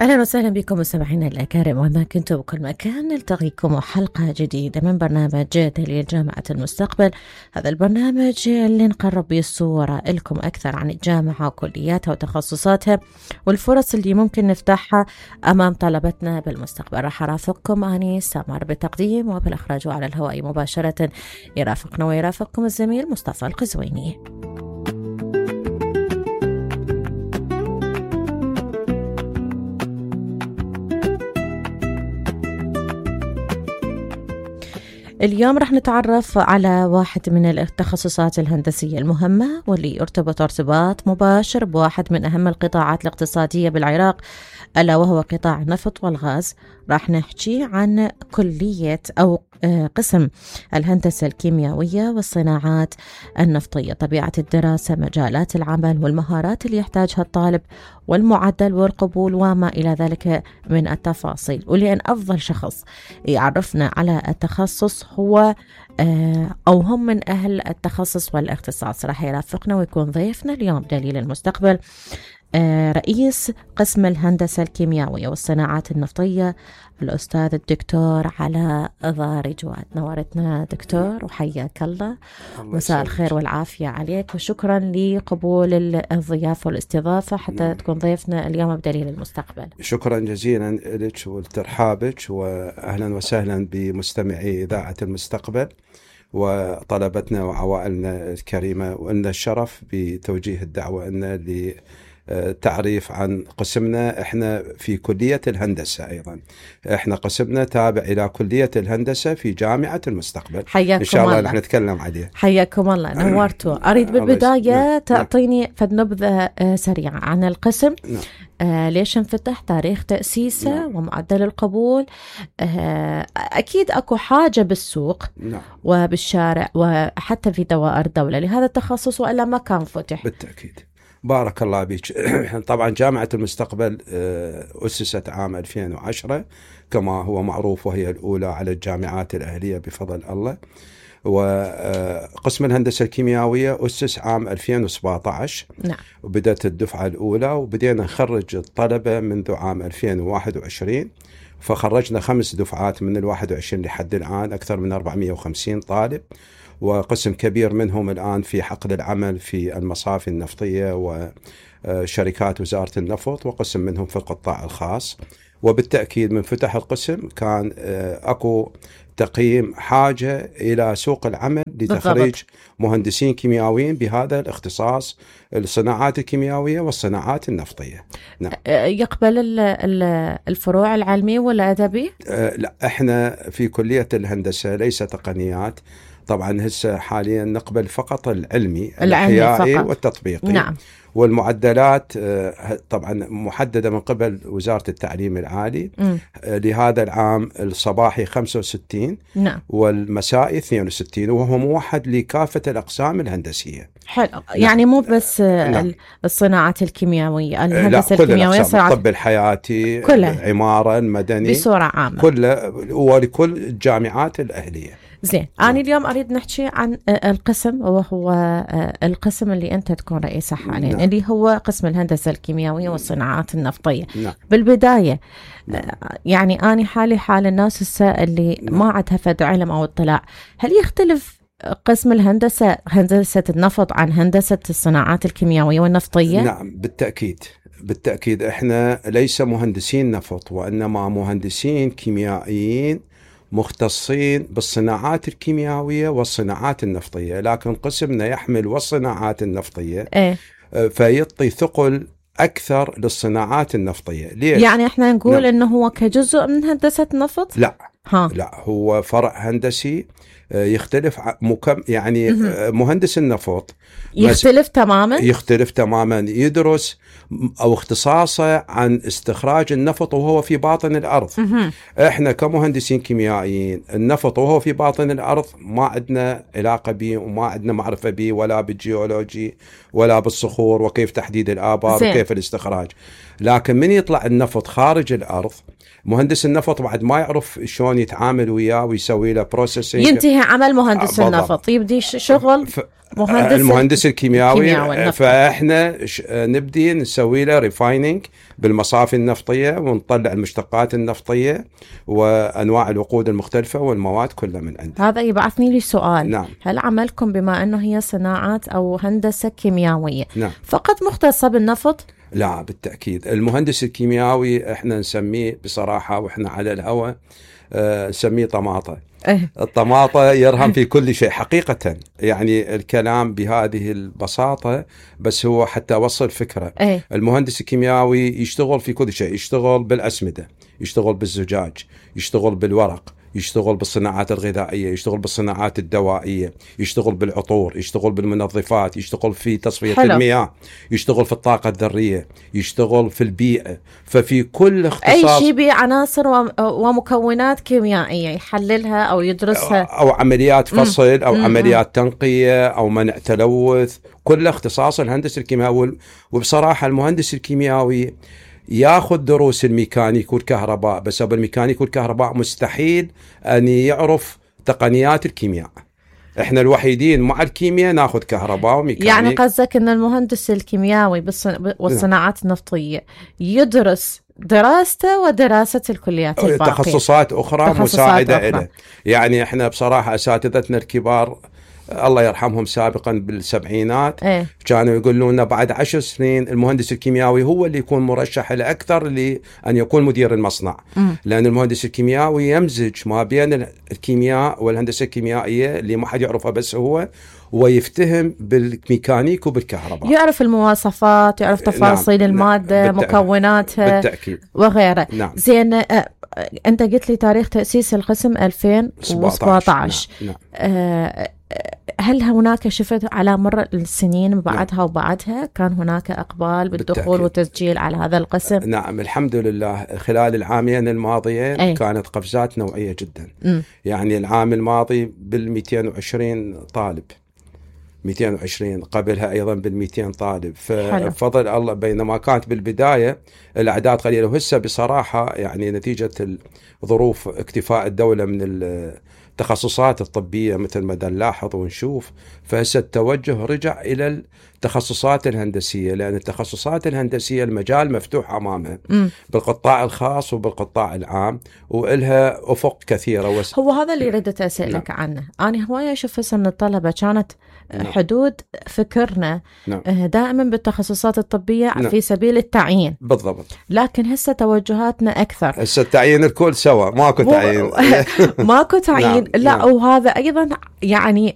أهلا وسهلا بكم مستمعينا الأكارم وما كنتم بكل مكان. نلتقيكم حلقة جديدة من برنامج دليل جامعة المستقبل. هذا البرنامج اللي نقرب به الصورة لكم أكثر عن الجامعة وكلياتها وتخصصاتها والفرص اللي ممكن نفتحها أمام طلبتنا بالمستقبل. راح أرافقكم أني سمر بالتقديم وبالإخراج على الهواء مباشرة. يرافقنا ويرافقكم الزميل مصطفى القزويني. اليوم رح نتعرف على واحد من التخصصات الهندسية المهمة واللي يرتبط ارتباط مباشر بواحد من أهم القطاعات الاقتصادية بالعراق، ألا وهو قطاع النفط والغاز. رح نحكي عن كلية أو قسم الهندسة الكيميائية والصناعات النفطية، طبيعة الدراسة، مجالات العمل والمهارات اللي يحتاجها الطالب والمعدل والقبول وما إلى ذلك من التفاصيل. ولأن أفضل شخص يعرفنا على التخصص هو أو هم من أهل التخصص والاختصاص راح يرافقنا ويكون ضيفنا اليوم دليل المستقبل رئيس قسم الهندسة الكيميائية والصناعات النفطية الأستاذ الدكتور علاء ضاري جواد. نورتنا دكتور وحياك الله. مساء الخير والعافية عليك وشكرا لقبول الضيافة والاستضافة حتى تكون ضيفنا اليوم بدليل المستقبل. شكرا جزيلا لك ولترحابك وأهلا وسهلا بمستمعي إذاعة المستقبل وطلبتنا وعوائلنا الكريمة، وأن الشرف بتوجيه الدعوة أن تعريف عن قسمنا. احنا في كلية الهندسة، ايضا احنا قسمنا تابع الى كلية الهندسة في جامعة المستقبل. حياكم ان شاء الله الله. رح نتكلم عليه. حياكم الله، نورتوا. اريد بالبداية تعطيني فد نبذة سريعة عن القسم. ليش انفتح، تاريخ تأسيسه ومعدل القبول. أكيد أكو حاجة بالسوق وبالشارع وحتى في دوائر الدولة لهذا التخصص وإلا ما كان فتح. بالتأكيد. بارك الله بك. طبعا جامعة المستقبل أسست عام 2010 كما هو معروف، وهي الأولى على الجامعات الأهلية بفضل الله. وقسم الهندسة الكيميائية أسس عام 2017. نعم. وبدأت الدفعة الأولى وبدينا نخرج الطلبة منذ عام 2021، فخرجنا 5 دفعات من 21 لحد الآن، أكثر من 450 طالب، وقسم كبير منهم الآن في حقل العمل في المصافي النفطية وشركات وزارة النفط، وقسم منهم في القطاع الخاص. وبالتأكيد من فتح القسم كان أكو تقييم حاجة إلى سوق العمل لتخريج مهندسين كيميائيين بهذا الاختصاص، الصناعات الكيميائية والصناعات النفطية. نعم. يقبل الفروع العلمي ولا أدبي؟ لا، احنا في كلية الهندسة ليس تقنيات. طبعا هسه حاليا نقبل فقط العلمي الأحيائي والتطبيقي. نعم. والمعدلات طبعا محددة من قبل وزارة التعليم العالي. لهذا العام الصباحي 65. نعم. والمسائي 62، وهو موحد لكافة الأقسام الهندسية. حلو. يعني مو بس الصناعات الكيميائية، الهندسة الكيميائية، الطب الحياتي، العمارة، المدني، بصورة عامة كله، ولكل الجامعات الأهلية. زين. أنا اليوم أريد نحكي عن القسم، وهو القسم اللي أنت تكون رئيسه حاليا. اللي هو قسم الهندسة الكيميائية والصناعات النفطية. بالبداية يعني أنا حال الناس اللي ما عندها فد علم أو اطلاع، هل يختلف قسم الهندسة، هندسة النفط، عن هندسة الصناعات الكيميائية والنفطية؟ نعم، بالتأكيد احنا ليس مهندسين نفط، وإنما مهندسين كيميائيين مختصين بالصناعات الكيميائية والصناعات النفطية، لكن قسمنا يحمل والصناعات النفطية فيعطي ثقل أكثر للصناعات النفطية. ليش؟ يعني احنا نقول إنه هو كجزء من هندسة نفط؟ لا، هو فرع هندسي يختلف يعني مهندس النفط يختلف تماما. يدرس أو اختصاصه عن استخراج النفط وهو في باطن الأرض. احنا كمهندسين كيميائيين النفط وهو في باطن الأرض ما عندنا علاقة به وما عندنا معرفة به، ولا بالجيولوجي ولا بالصخور وكيف تحديد الآبار وكيف الاستخراج. لكن من يطلع النفط خارج الأرض، مهندس النفط بعد ما يعرف شلون يتعامل وياه ويسوي له بروسيسنج، ينتهي عمل مهندس النفط، يبدي شغل المهندس الكيمياوي. فاحنا نبدي نسوي له ريفايننج بالمصافي النفطيه ونطلع المشتقات النفطيه وانواع الوقود المختلفه والمواد كلها من عندنا. هذا يبعثني لي سؤال. نعم. هل عملكم بما انه هي صناعات او هندسه كيميائيه نعم. فقط مختصه بالنفط؟ لا بالتاكيد. المهندس الكيميائي احنا نسميه بصراحه واحنا على الهواء نسميه طماطه. الطماطة يرهم في كل شيء حقيقة، يعني الكلام بهذه البساطة، بس هو حتى أوصل فكرة. المهندس الكيميائي يشتغل في كل شيء، يشتغل بالأسمدة، يشتغل بالزجاج، يشتغل بالورق، يشتغل بالصناعات الغذائية، يشتغل بالصناعات الدوائية، يشتغل بالعطور، يشتغل بالمنظفات، يشتغل في تصفية المياه، يشتغل في الطاقة الذرية، يشتغل في البيئة. ففي كل اختصاص أي شيء بعناصر ومكونات كيميائية يحللها أو يدرسها، أو عمليات فصل أو عمليات تنقية أو منع تلوث، كل اختصاص الهندسة الكيميائي. وبصراحة المهندس الكيميائي ياخذ دروس الميكانيك والكهرباء، بس بالميكانيك والكهرباء مستحيل أن يعرف تقنيات الكيمياء. احنا الوحيدين مع الكيمياء ناخذ كهرباء وميكانيك. يعني قصدك ان المهندس الكيميائي والصناعات النفطية يدرس دراسته ودراسة الكليات الباقية، تخصصات أخرى مساعدة له. يعني احنا بصراحة أساتذتنا الكبار الله يرحمهم سابقا بالسبعينات كانوا يقولون لنا بعد 10 سنين المهندس الكيميائي هو اللي يكون مرشح الأكثر لأن يكون مدير المصنع. لأن المهندس الكيميائي يمزج ما بين الكيمياء والهندسة الكيميائية اللي ما حد يعرفها بس هو، ويفتهم بالميكانيك وبالكهرباء، يعرف المواصفات، يعرف تفاصيل المادة، مكوناتها بالتأكيد وغيره. زين، أنت قلت لي تاريخ تأسيس القسم 2017. هل هناك شفت على مر السنين بعدها وبعدها كان هناك إقبال بالدخول والتسجيل على هذا القسم؟ نعم الحمد لله. خلال العامين الماضيين كانت قفزات نوعية جدا. يعني العام الماضي بال220 طالب، 220 قبلها أيضا بال200 طالب. ففضل الله، بينما كانت بالبداية الأعداد قليلة، وهسه بصراحة يعني نتيجة ظروف اكتفاء الدولة من التخصصات الطبية مثل ما نلاحظ ونشوف، فهسه التوجه رجع إلى التخصصات الهندسية، لأن التخصصات الهندسية المجال مفتوح أمامها بالقطاع الخاص وبالقطاع العام، وإلها أفق كثيرة. هو هذا اللي ردت أسألك عنه. أنا هواية أشوف هسه من الطلبة كانت حدود فكرنا دائما بالتخصصات الطبية في سبيل التعيين بالضبط، لكن هسه توجهاتنا أكثر. هسه التعيين الكل سوا، ماكو تعيين. ماكو تعيين. لا وهذا أيضا يعني